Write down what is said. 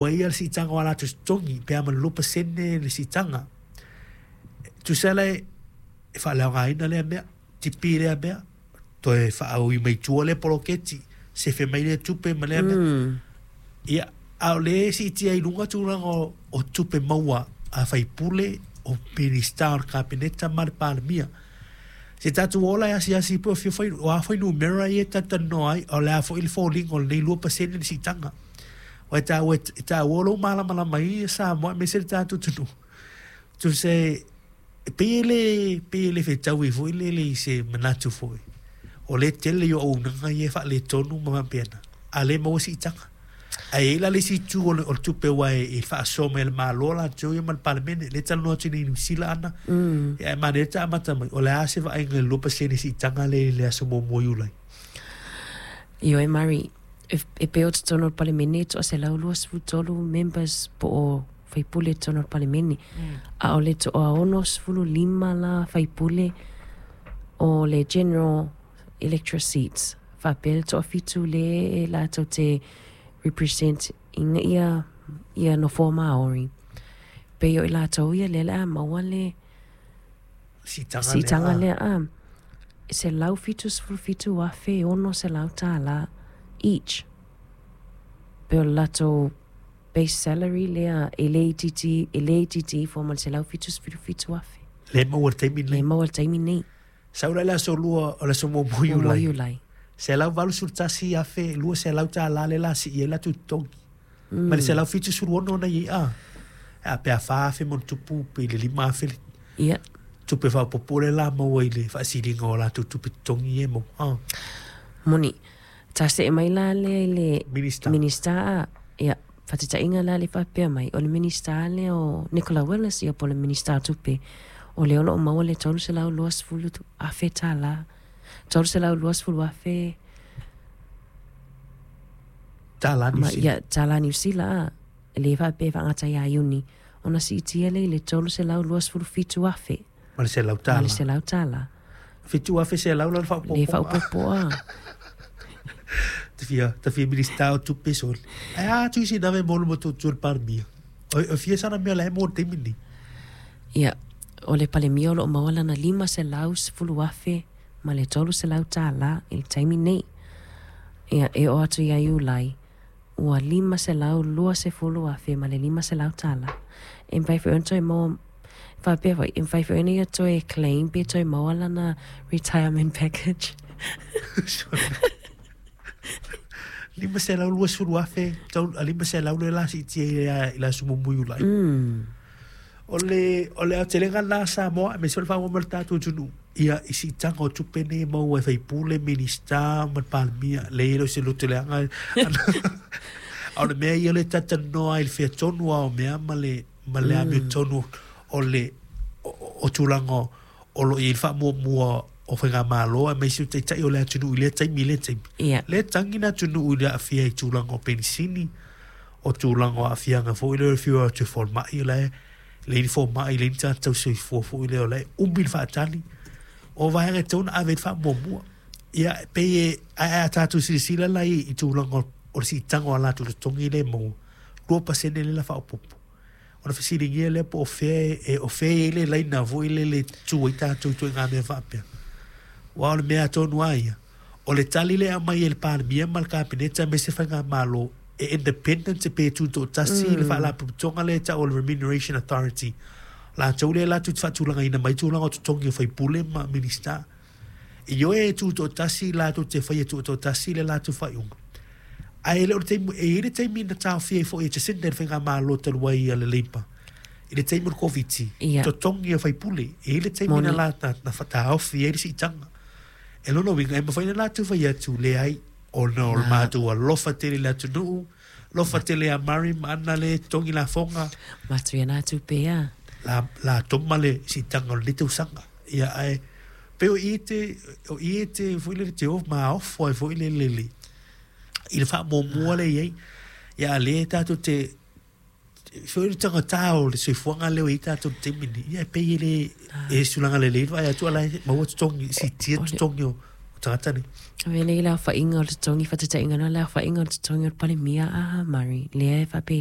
Ua ia le siitaga o a latou totogi pe a ma le 2% le siitaga. E tusa la e faaleaogaina lea mea, tipi lea mea, toe faaui mai tua lea poloketi, sefe mai lea tupe ma lea mea. Ia, a o lea e siitia i luga tulaga o tupe maua a faipule, o Minisita o le Kapeneta ma le Palemia. Se tatou ola e asiasi po o fia fai, o a fuainumera ia e talatalanoa ai, o le a foi le foliga o lenei 2% le siitaga. Aua e taua, e taua lou malamalama i Samoa aemaise le tatou atunuu. Tusa e pei e le, pei e le fetaui foi lele i se manatu foi. O lea e tele i o auaunaga ia e faaletonu ma faapena, a o lea e maua siitaga. Ae i ai la le isi itu o le, o le tupe aua e faasoa mai e le Malo latou ia ma le Palemene. Lea e talanoa atu nei i Niu Sila ana. Ia ae manaia ta amata mai, o le a se vaaiga i le 2% siitaga lea i le aso 1 o Iulai? Ioe Murray, e pei o totonu o le Palemene e toa-123 members po o faipule i totonu o le Palemene. A o le toa-65 la faipule o le General Electorate Seats, faapea le toafitu le e latou te represent ina ia, ia nofoa Māori. Pei o i latou ia lea o le a maua le siitaga lea, a, $177,600 each. Pei o le latou base salary lea e le itiiti, e le itiiti ifo ma le $177,000. Lea e maua i le taimi lenei. Lea e maua i le taimi lenei. Sau la i le aso 2 o le aso 1 o Iulai. Iulai. $181,200 lea o le a sii ai latou totogi. Mai le 176 na i ai a. A pe a 4,000 ma ona tupu pe i le 5,000 le Ia. tupe faaopoopo lea o le a maua i le faasiliga o latou tupe totogi ia e maua. A. Moni. Ta see mai la lea i le Minista. Minista a, ia, faataitaiga la lea faapea mai, o le Minista lea o Nicola Willis, ia po o le Minista o Tupe, o lea o lo o maua le $320,000, $320,000 Tala Niu Sila. Ia, tala Niu Sila, a, lea faapea e faagata ia Iuni, ona siitia lea i le $327,000. Ma le $100. Ma le $100. 7,100 la le faaopoopoga. Le faaopoopo a. Ta fia, ta fia Minista o Tupe sole. Ae a atu i sina mea mo le matutu o le Palemia. O fia sana mea la e mo le taimi lenei. Ia, o le Palemia o lo o maua lana $510,000 ma le $300 i le taimi nei. Ia, e oo atu ia Iulai, ua $520,000 ma le $500. E mafai foi ona toe maua, faapea foi, e mafai foi ona ia toe claim pe toe maua lana retirement package. $520,000, 500 lea o le a siitia i le aso 1 o Iulai. O le, o le aotelega lena a Samoa, aemaise foi le faamoemoe o le tatou atunuu, ia, i siitaga o tupe nei e maua e faipule, Minisita ma le Palemia. Leai, e le o se loto leaga. A o le mea ia o lea e talatalanoa ai i le fea tonu lava o mea ma le, ma le amiotonu o le, o, o tulaga o lo o i ai le faamuamua o faigamalo aemaise o taitai o le atunuu i lea taimi i lea taimi. Ia. Lea e tagi le atunuu i le aafia i tulaga o penisini, o tulaga o aafiaga foi lea o le fiu atu e fomai, o la e leai ni fomai, leai ni tagata tausisoifua foi lea, o la e umi le faatali. O vaega e tatau ona ave i ai le faamuamua. Ia, e pei e, ae a tatou silasila la i tulaga o le siitaga o a latou totogi lea e maua, 2% lea o le a faaopoopo. Ona fesiligia lea po o fea e, o fea e i ai le laina foi lele e tu ai tatou i ituaiga mea faapea. Aua o le mea tonu lava ia, o le tali lea e aumai e le Palemia ma le Kapeneta aemaise Faigamalo, e independent pe tutoatasi le Faalapotopotoga lea e tau o le Remuneration Authority. Latou lea latou te faatulagaina mai tulaga o totogi o faipule ma Minisita. Ioe e tutoatasi latou te faia tutoatasi le latou faaiuga. Ae le o le taimi, e i ai le taimi na taofia ai foi e Jacinda e le Faigamalo talu ai a le Labour i le taimi o le Koviti, Ia. totogi o faipule. E i ai le taimi na Moni. la, na, na taofi ai le siitaga. E lona uiga, e mafai ona latou fai atu, leai, ona o le matou alofa tele i le atunuu, alofa tele ia Murray ma Anna lea e totogi lafoga. Matou ia na tupe a. La, la toma le siitaga o lenei tausaga. Ia, ae, pei o i te, o i te, foi lele, te o maofo ai foi lele i le, i le faamuamua lea e i ai. Ia, a o lea tatou te, foi le tagata o le soifuaga lea ua i ai tatou i le taimi lenei, ia e pei e le, e tulaga lelei le vaai atu a o la e maua totogi, siitia totogi o tagata nei. Avea nei le aofaiga o le totogi, faataitaiga loa le aofaiga o le totogi o le Palemia a Murray, lea e faapea e